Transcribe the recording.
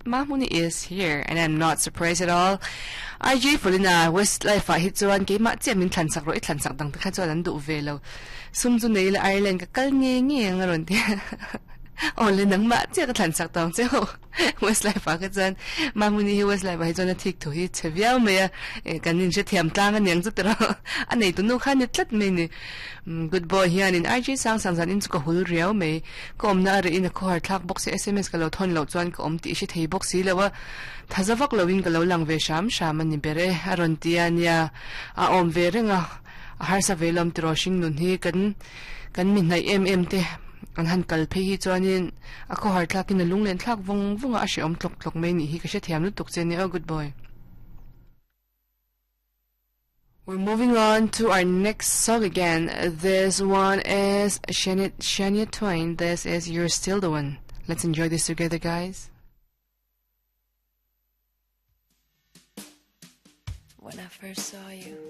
Mahmuni is here and I'm not surprised at all. RJ Fulina Westlife ah hi chuan keimah chiah min thlan sak rawh i thlan sak dang te kha chuan an duh ve lo. Sum chu nei ila Ireland ka kal nge nge ang a rawn ti a. Aw le nangmah chiah ka thlan sak tawng che ho. Westlife ah kha chuan Mahmuni hi Westlife ah hi chuan a thik thu hi chhe viau mai a, eh kan inhrethiam tlang a niang chu tiraw a nei tunu kha ni tlat mai ni. Good boy hianin RJ sang sang zan in chu ka hul riau mai. Ka awmna a reh in a khawhar thlak bawk si sms ka lo thawn loh chuan ka awm tih i hre thei bawk si lo a, thaza vak lo in ka lo lang ve hram hram a ni ber e a rawn ti a nia, a awm ve reng a, a harsa ve lawm tiraw hring nun hi kan kan mi hnaih em em te an han kal phei hi chuanin a khawhar thlak in a lunglen thlak vawng vawng a, a hrehawm tlawk tlawk mai nih hi ka hrethiam lutuk che nia aw good boy. We're moving on to our next song again. This one is Shania, Shania Twain. This is You're Still the One. Let's enjoy this together, guys. When I first saw you.